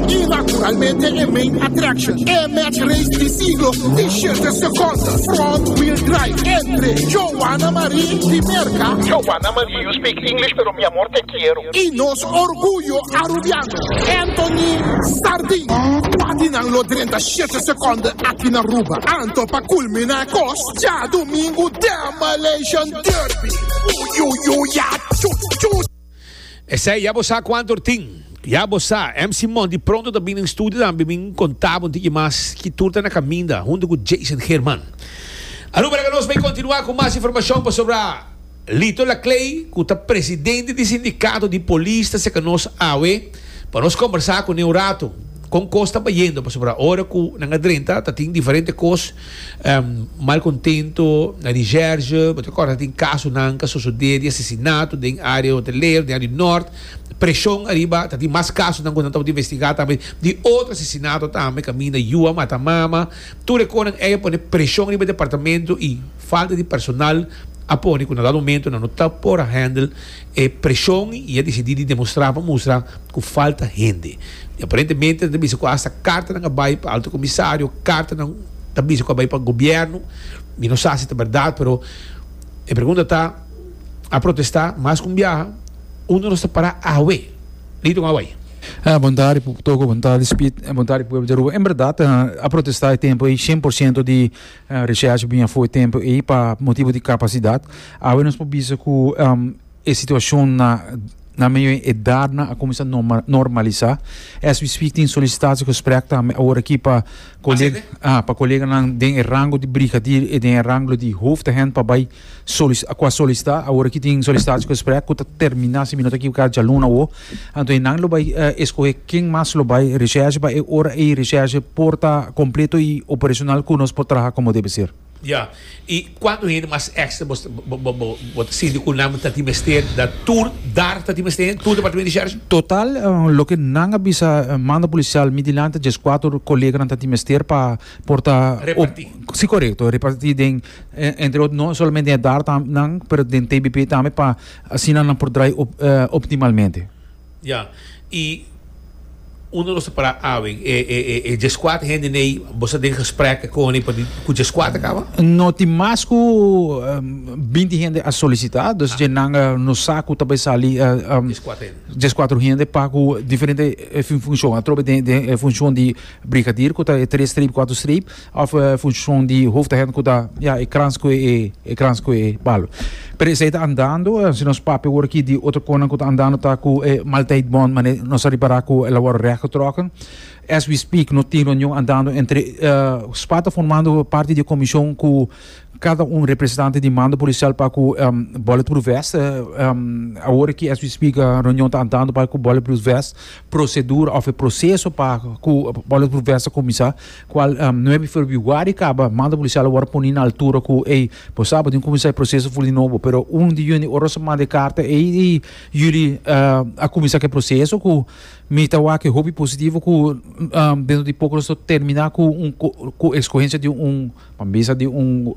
Y naturalmente e main attraction, e match race di siglo di shete seconde, front wheel drive, entre Joanna Marie di Merca, Joanna Marie, you speak English pero mi amor te quiero. Y nos orguyo Arubiano, Anthony Sardin. Cua di nan lo drenta shete seconde aki na Aruba? Anto pa culmina e cos, djadomingo Demolition Derby! Uyuyuya chu chu! Esei ya bo sa cuanto or tin. Ya bo sa. MC Monty pronto ta bini den studio tambe bin conta bo un tiki mas ki tur ta na caminda hunto cu Jason Geerman. Aruba laga nos bay continua cu mas informacion pasobra Lito Laclay cu ta presidente di sindicato di polis ta seca nos awe pa nos combersa cune un rato con cos ta bayendo pasobra ora cu nan a drenta ta tin diferente cos Malcontento na Recherche, bo ta corda tin casonan ca sosode di asesinato den area hotelero, den area di Noord. Presion ariba, ta tin mas casonan cu nan tabata investiga tambe di otro asesinato tambe caminda yu a mata mama. Tur e conan ey a pone presion riba e departamento y falta di personal a pone cu na dado momento nan no ta por a handle e presion y a dicidi di demostra pa mustra cu falta hende. Y aparentemente nan ta bisa cu hasta cartanan a bay pa Alto Comisario, cartanan ta bisa cu a bay pa gobierno. Mi no sa si ta berdad, pero e pregunta ta, a protesta mas cu un biaha, unda nos ta para awe? Lito con away. Bon tardi Toko, bon tardi Speed, bon tardi pueblo di Aruba. En berdad a protesta e tempo ey 100% di recherche bin afo e tempo ey pa motibo di capacidad. Awe nos por bisa cu e situacion na na medio e edarnan a cuminsa normalisa. As we speak tin solicitatiegesprek tambe awor aki pa colega ah pa coleganan den e rango di brigadier y den e rango di hoofdagent pa bay cu a solicita. Awor aki tin solicitatiegesprek cu ta termina si mi no ta ekivoca djaluna awo. Anto e nan lo bay escoge ken mas lo bay recherche pa e ora ey recherche por ta completo y operacional cu nos por traha como debe ser. Ya, y cuanto hende mas extra bo ta sinti cu nan ta tin mester da tur dar ta tin mester hende, tur departamento di sheriff? Total, loke nan a bisa manda policial mi dilanti diescuatro coleganan ta tin mester pa por ta Reparti. Si corecto, reparti den entre otro no solamente den e dar nan pero den TBP tambe pa asina nan por draai optimalmente. Ya, y unda nos ta para awe? E dieskuater hende nei, bo sa den gesprek con e pa di cu dieskuater caba? No tin mas cu 20 hende a solicita, dus dje nan no sa cu ta bay sali Dieskuater hende. Dieskuater hende pa cu diferente funcion. Atrobe den e funcion di brigadier cu ta e tres streep, cuatro streep. Of funcion di hoofdagent cu ta ya e krans cu e e krans cu e palo. Pero esey ta andando, si nos papia awor aki di otro conan cu ta andando ta cu e maaltijdbon mane nos a ripara cu el a worde rechtgetrokken. As we speak no tin reunion andando entre spa ta formando parti di e comision cu cada un representante di mando policial pa cu bulletproof vest. Awor aki as we speak reunion ta andando pa cu bulletproof vest procedura of e proceso pa cu bulletproof vest a cuminsa. Cual nuebe februari caba manda policial a worde poni na altura cu ey bo sa bo tin cuminsa e proceso ful di nobo pero un di juni ora nos a manda e carta ey y juli a cuminsa cu e proceso cu mi ta wak e hopi positivo cu dentro di poco nos ta termina cu un cu escogencia di un pa bisa di un.